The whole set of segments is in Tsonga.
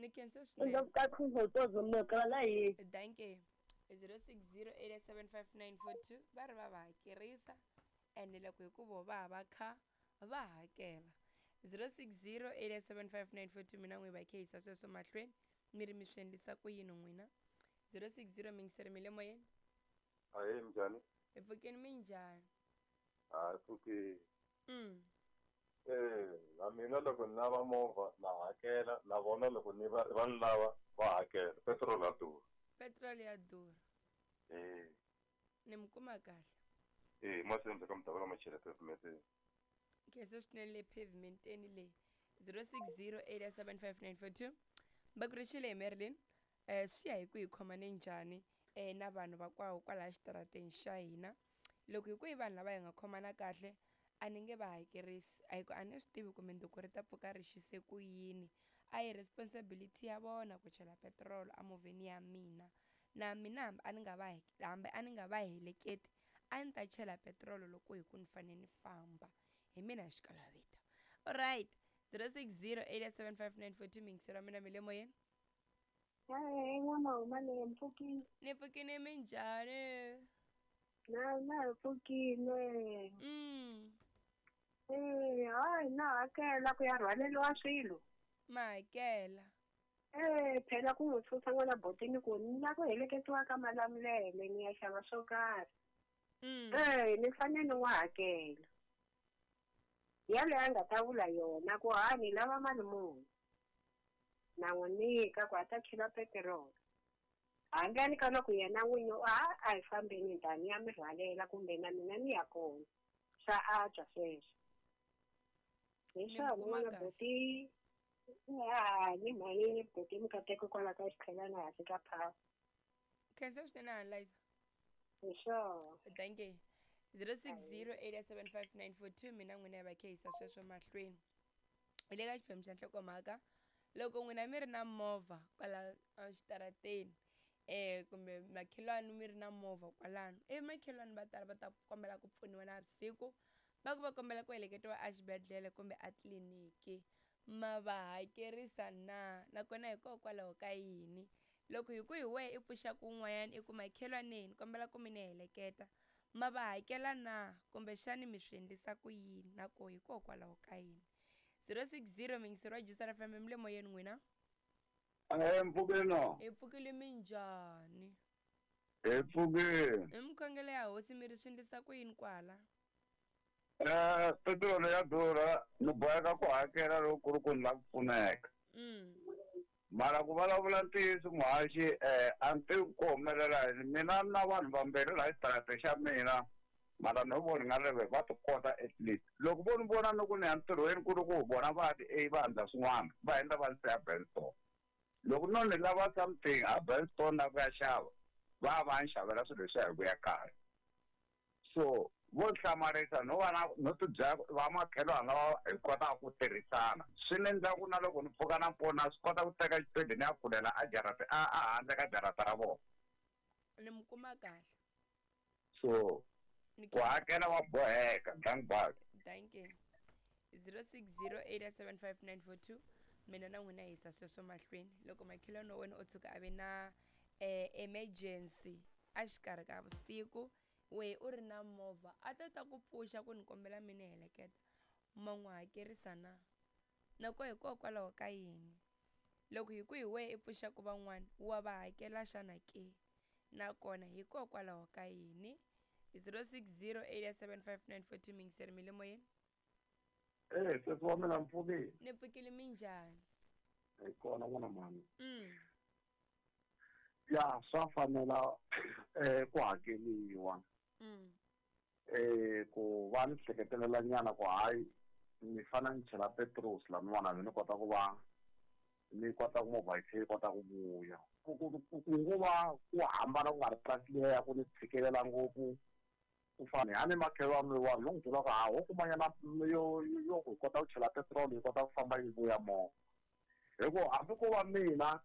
Ni khensa swinene. Indokukakhuzotozomokralayi. Danke. 0608755942 va ri va va hakerisa ende loko hi ku vo va va kha va hakela. 0608755942 mina n'wi va khehisa sweswo mahlweni mi ri mi swi endlisa ku yini n'wina. 060 mingiseri mi le moyeni. Ahee, minjhani? Hi pfukeni, minjhani? Hayi, pfukeni. Na mina loko ni lava movha na hakela, na vona loko ni va va ni lava va hakela. Petrol ya durha. Petrol ya durha. Ni mi kuma kahle. Masenza ka mudavula machela pavement. Khensa swinene le pavementeni leyi. 0608755942 va ku rixile hi Marilyn. Swi ya hi ku hi khomane njhani na vanhu va kwaho kwalaya xitarateni xa hina. Loko hi ku i vanhu lava hi nga khomana kahle a ni nge va hakerisi, a hi ku a ni swi tivi ku mundzuku ri ta pfuka ri xise ku yini. A hi responsibility ya vona ku chela petiroli emovheni ya mina. Na mina hambi a ni nga va hambi a ni nga va heleketi a ni ta chela petiroli loko hi ku ni fanele ni famba. Hi mina xikalavito. Alright, 0608755942 mingiselo wa mina mi le moyeni. Hayi, n'wana le mpfukile. Ni pfukile, minjhani? Na hi pfukile. Hayi, na hakela ku ya rhwaleriwa swilo. Ma hakela. Phela ku n'wi susa n'wana botini ku ni la ku heleketiwa ka Malamulele ni ya xava swo karhi. Ni fanele ni n'wi hakela. Yaleyo a nga ta vula yona ku ha ni lava mali muni. Na n'wi nyika ku a ta chela petiroli. Handleni ka loko yena n'winyi a hi fambeni ndani ya mi rhwalela kumbe na mina ni ya kona. Swa antswa sweswo. Hi swona n'wana buti ni mhani buti mikateko kwala ka xitlhelana hansi ka power. Khensa swinene Anliza. Hi swona. Thank you. 0608755942 mina n'wina hi va khehisa sweswo mahlweni. Hi le ka xiphemu xa nhlokomhaka loko n'wina mi ri na movha kwala exitarateni kumbe makhelwani mi ri na movha kwalano, ivi makhelwani va tala va ta kombela ku pfuniwa navusiku, va ku va kombela ku heleketiwa exibedhlele kumbe a tliliniki, ma va hakerisa na? Nakona hikokwalaho ka yini? Loko hi ku hi wehe i pfuxaka un'wanyana i ku makhelwaneni ni kombela ku mi ni heleketa, ma va hakela na? Kumbexani mi swi endlisa ku yini? Na koho hikokwalaho ka yini? 060 mingiseri wa Juice FM mi le moyeni n'wina. Mpfukeni. Hi pfukile, minjhani? Hi pfukile. Hi mikhongelo ya hosi mi ri swi endlisa ku yini kwala? Petiroli ya durha, ni boheka ku hakela loko ku ri ku ni lava ku pfuneka. Mara ku vulavula ntiyiso muhaxi, a ni tivi ku humelela yini. Mina na vanhu vambirhi laha xitarateni xa mina, mara no vona nga ri va ti kota at least. Loko vo ni vona ni ku ni ya ntirhweni ku ri ku vona va ti va endla swin'wana, va endla va ndzi siya Benstone. Loko no ni lava something a Benstone na ku ya xava, va va ni xavela swilo leswiya hi ku ya kaya. So vo hlamarisa no va na no ti byela va makhelwani lava hi kotaka ku tirhisana. Swi ni endla ku na loko ni pfuka nampundzu na swi kota ku teka xipedi ni ya pfulela a jarata a handle ka jarata ra vona. Ni mi kuma kahle. So ku hakela wa boheka, dank. Thank you. 0608755942 mina na n'wina hisa sweswo mahlweni. Loko makhelwani wa wena o tshuka a ve na emergency a xikarhi ka vusiku, we u ri na movha a ta ta ku pfuxa ku ni kombela mi ni heleketa, ma n'wi hakerisa na? Nako hikokwalaho ka yini? Loko hi ku hi wehe i pfuxaka van'wana wa va hakela xana ke? Nakona hikokwalaho ka yini? 0608755942 mingiseri mi le moyeni. Sesi wa mina mpfukile. Ni pfukile, minjhani? Hi kona n'wana mhani. Ya swa fanela ku hakeliwa. Ku va ni hleketelela nyana ku hayi ni fanele ni chela petrol laniwani ni kota ku va ni kota ku movha yi tlhela yi kota ku vuya. Ku ngo va ku hambana ku nga ri price liya ya ku ni tshikelela ngopfu. Ku fana hani makhelwani wa lo n'wi byela ku ha ho kumanyana yo yo ku kota ku chela petrol yi kota ku famba yi vuya movha. Hi ku hambi ko va mina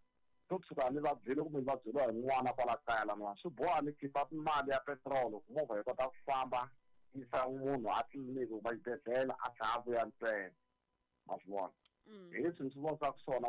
to tshuka ni vabyile kumbe ni vabyeriwa hi n'wana kwala kaya laniwani, swi boha ni khipa mali ya petrol ku movha yi kota ku famba yisa munhu a tliliniki kumbe exibedhlele a tlhela a vuya ntsena. Ma swi vona? Hi leswi ni swi vonisaka swona.